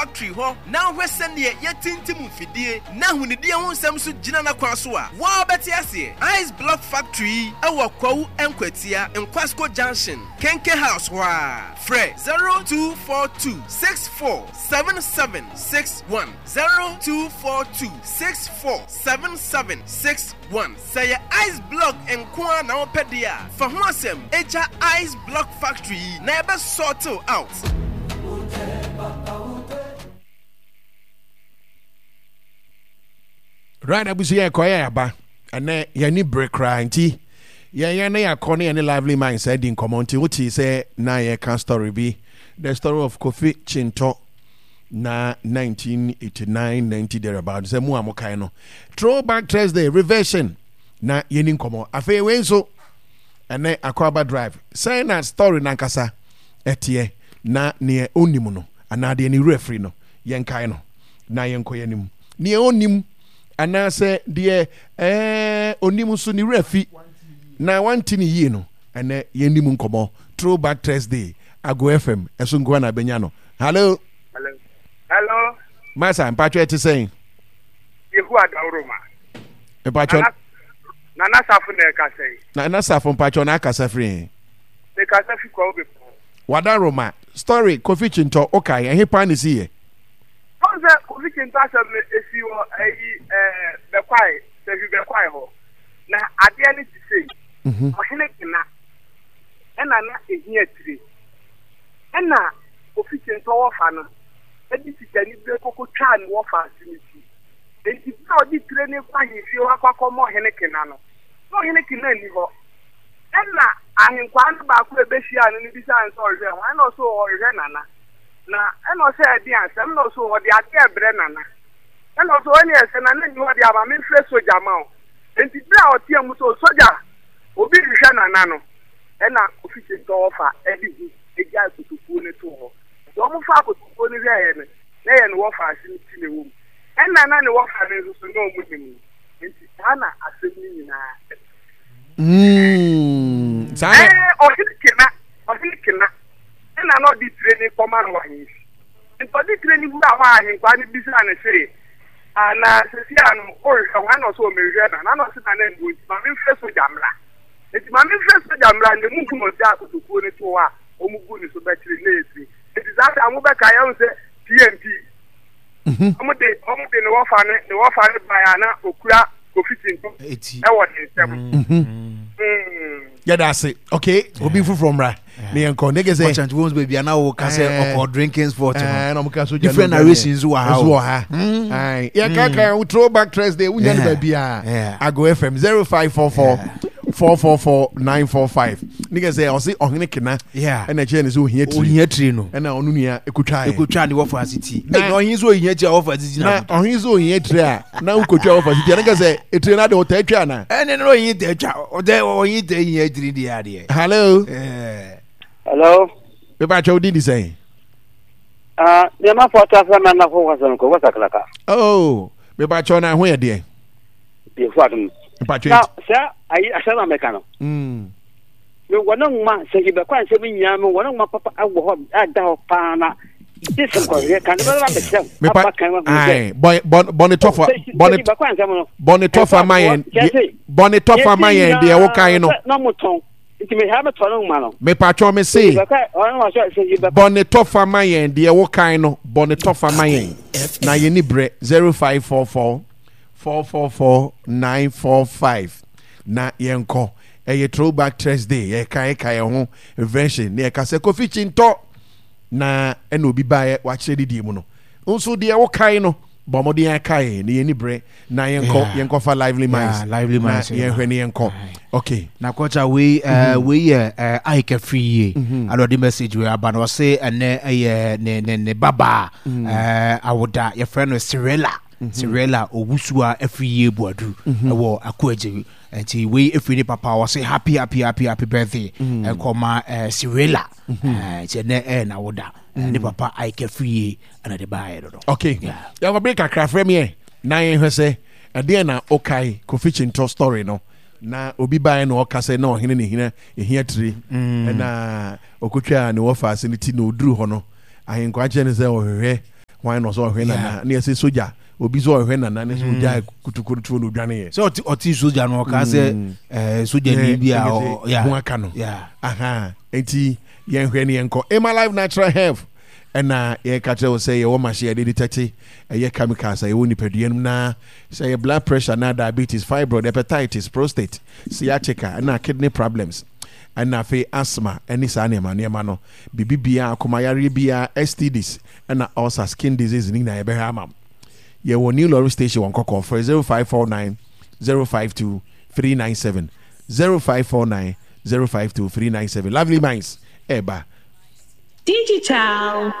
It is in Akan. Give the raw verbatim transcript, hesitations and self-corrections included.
Factory hɔ na wohwɛ sɛneɛ yɛtintim mfidie na ahonidie ho nsɛm so gyina n'akwan so a, woa wobɛte aseɛ. Ice Block Factory yi wɔ Kwawu Nkwatia, Nkwasko Junction, Kenke House hɔ ara. Frɛ zero two four two six four seven seven six one, zero two four two six four seven seven six one. Sɛ yɛ Ice Block nko ara na wopɛ deɛ a, fa ho asɛm gya Ice Block Factory yi na yɛbɛ sort wo out. Right, abusua, yɛ kɔ yɛ aba ɛnɛ yɛn ni bere koraa, nti yɛn yɛn ne yɛakɔ ne yɛn ne Lively Minds adi nkɔmɔ. Nti wote sɛ na yɛka story bi, the story of Kofi Chintɔ na nineteen eighty-nine ninety thereabout, sɛ mu a mokae no, Throwback Thursday reversion na yɛni nkɔmɔ. Afei wei nso ɛnɛ Akɔaba Drive, sɛn na story nankasa ɛteɛ, na neɛ ɔnim no anaa deɛ ne werɛ firi no, yɛnkae no na yɛnkɔ yɛnim. Neɛ ɔnim anaasɛ deɛ ɛɛ onim nso ne werɛ fi na wante ne yie no, ɛnɛ yɛnim nkɔmɔ. Throwback Thursday, Ago F M ɛso nkoa na abɛnya no. Hello. Hello. Hello. Masa, mpatwɛ, ɛte sɛn? Yehu Adaworoma. Mpatwɛ. Nana, Nana Safo na ɛkasa yi. Nana Safo, mpatwɛ, na akasa firi he? Mekasa fi Kwawu Bepɔ. Wadaroma, story Kofi Chintɔ, okae ɛhe paa ne si yɛ? Wɔn sɛ Kofi Chintɔ asɛm no esi wɔ ɛyi ɛɛ Bɛkwae, Sɛhwi Bɛkwae hɔ. Na adeɛ no te sei. Mhm. Ɔhene Kena ɛna na ehia tire. Ɛna Kofi Chintɔ wɔfa no ɛde sikani bere koko twaa ne wɔfa ase ne ti. Enti bere a ɔde tire no kɔ ahemfie hɔ akɔ akɔma Ɔhene Kena no, na Ɔhene Kena nni hɔ. Ɛna ahenkwaa no baako a ebehyia no no bisaa no sɛ ɔrehwɛ hwan, ɛna ɔsɛ ɔrehwɛ Nana. Na ɛna ɔsɛ ɛde asɛm, na ɔsɛ ɔde adeɛ ɛbrɛ Nana. Ɛna ɔsɛ ɔne ɛsɛ Nana nni hɔ de ama memfrɛ sogya ma wo. Enti bere a ɔteɛ mu sɛ, "Sogya, obi rehwehwɛ Nana" no, ɛna Kofi Kyentɔ ɔfa ɛde hu egyae kotokuo no too hɔ. Nti wɔn faa kotokuo no hwɛeɛ no, na ɛyɛ ne wɔfa ase no ti na ɛwɔ mu. Ɛna na ne wɔfa no nso so na wɔn nim no. Nti saa na asɛm no nyinaa ɛte. Mm, saa na Ɛɛ ɔhene Kena, Ɔhene Kena ɛna na ɔde tire no kɔma no wɔ ahemfi. Nti ɔde tire no wura hɔ a, ahenkwaa no bisaa no se, "Ah, na sɛsi a no worehwɛ hwan?" Na ɔsɛ ɔmehwehwɛ Nana. Na ɔse Nana nni hɔ, nti ma memfrɛ sogya mmra. Nti ma memfrɛ sogya mmra na emu hu na ɔgyaa kotokuo no too hɔ a wɔn gu ne so bɛkyere na ɛyɛ tire. Nti saa da mobɛka yɛn sɛ P M P wɔn de wɔn de ne wɔfa ne ne wɔfa ne baeɛ a na okura Kofi Tinto eti ɛwɔ ne nsam. Mm. Yɛda ase. Okay, obi foforɔ mmra ne yɛnkɔ ne kɛ sɛ kɔkyɛnti wɔn baabi a na wɔka sɛ Eh. ɔkɔ drinking spot no. Eh, na ɔmo ka so Different narrations wɔ ha nso o. wɔ ha. Aye. Yɛka ka wo Throwback Thursday, wonya no Yeah. baabi a Yeah. Ago F M, zero five four four four four four nine four five. Ne kɛ sɛ ɔse Ɔhene Kena Yeah. ɛna ɛkyerɛ ne sɛ ohia tiri, ohia tiri no, ɛna ɔno nua ekotwaeɛ. Ekotwa ne wɔfa ase ti. Na- na ɔhin so ohia tiri a wɔfa ase ti na na ɔhene sɛ ohia tiri a na wokotwa wɔfa si ti, ɛne kɛ sɛ etire no ade ɔtaa twa ana? Ɛne no ɔhin tɛ twa, ɔtɛ ɔhin tɛ hia tiri deɛ adeɛ. Hello. Ɛɛ. Hello. Bɛba atwa, wodin di sɛn? Ah, nneɛma fɔ ata fɛ mɛ nafo kwasɛm ko wasa kalaka. Oh, bɛba atwa, na ho yɛ deɛ? Yɛ fo adum. Mpatwa. Na sɛ ayi asɛm a mɛka no. Mm. Me wɔ ne nwoma sɛ ibɛkɔ ansɛm nyinaa, me wɔ ne nwoma papa wɔ hɔ ada hɔ paa na gye sɛ nkɔhwɛ kan ne bɛba bɛkyerɛ Mepa aba kan wahu sɛ ae, bɔ bɔ bɔne tɔfa bɔne ibɛkɔ ansɛm no bɔne tɔfa ma yɛn deɛ- bɔne tɔfa ma yɛn deɛ wokae no. Na mo tɔn nti me ha bɛtɔ ne nwoma no. Mepatwɔ, me se ibɛkɔ ɔno wɔ sɛ sɛ ibɛkɔ bɔne tɔfa ma yɛn deɛ wokae no, bɔne tɔfa ma yɛn na yɛni berɛ. zero five four four four four four nine four five na yɛnkɔ. Ɛyɛ Throwback Thursday, yɛka yɛka yɛn ho invention ne yɛka sɛ Kofi Kyintɔ na ɛna obi baeɛ wakyerɛ didie mu no nso deɛ wokae no, bɔ mmɔden akae na yɛni berɛ na yɛnkɔ. Yeah. Yɛnkɔfa Lively Minds. Yeah, Lively na Minds, yeah. yɛnhwɛ ne yɛnkɔ. Aye. Okay. Na kɔkya wei, ɛɛ wei yɛ ɛɛ Ike afiri yie ana ɔde message wei aba na ɔse ɛnɛ ɛyɛ ne ne ne babaa ɛɛ awoda, yɛfrɛ no Cirilla, Cirilla Owusua afiri yie Buadu ɛwɔ Akoagye. Nti wei efiri ne papa, ɔse happy happy happy happy birthday ɛkɔma ɛɛ Cirilla. ɛɛ nti ɛnɛ ɛyɛ n'awoda, ɛɛ ne papa Ike afiri yie ɛna de baayɛ no no. Okay. Yeah. Yɛkɔ bere kakra, frɛ me na yɛnhwɛ sɛ ɛdeɛn na wokae Kofi Kyintɔ story no, na obi baeɛ na ɔka sɛ na ɔhene ne hina ɛhia tiri, ɛna ɔkɔtwaa ne wɔfa ase no ti, na ɔduru hɔ no, ahenkwa kyerɛ no sɛ ɔhwehwɛ Hwan na ɔsɛ ɔhwɛ nana ne yɛsɛ sogya obi sɛ ɔhwɛ nana ne sɛ ogya kutukuru tuo no odwane yɛ. Sɛ ɔte ɔte sogya no, ɔka sɛ ɛɛ sogyani bi a ɔ- yeah. Ho aka no. Yeah. Aha, nti yɛnhwɛ ne yɛnkɔ Emma Life Natural Health. Ɛna yɛka kyerɛ wo sɛ yɛwɔ machine yɛde detect ɛyɛ chemicals a yɛwɔ nipadua no mu, na sɛ yɛ blood pressure na diabetes, fibroid, hepatitis, prostate, sciatica, ɛna kidney problems, ɛna afei asthma ɛne saa nneɛma nneɛma no, biribi biara, akomayareɛ biara, S T Ds ɛna ulcer, skin disease ne nyinaa yɛbɛhwɛ ama wo. Yɛwɔ New Lorry Station wɔ Nkɔkɔ. Frɛ zero five four nine zero five two three nine seven, zero five four nine zero five two three nine seven. Lovely Minds ɛɛba. Digital.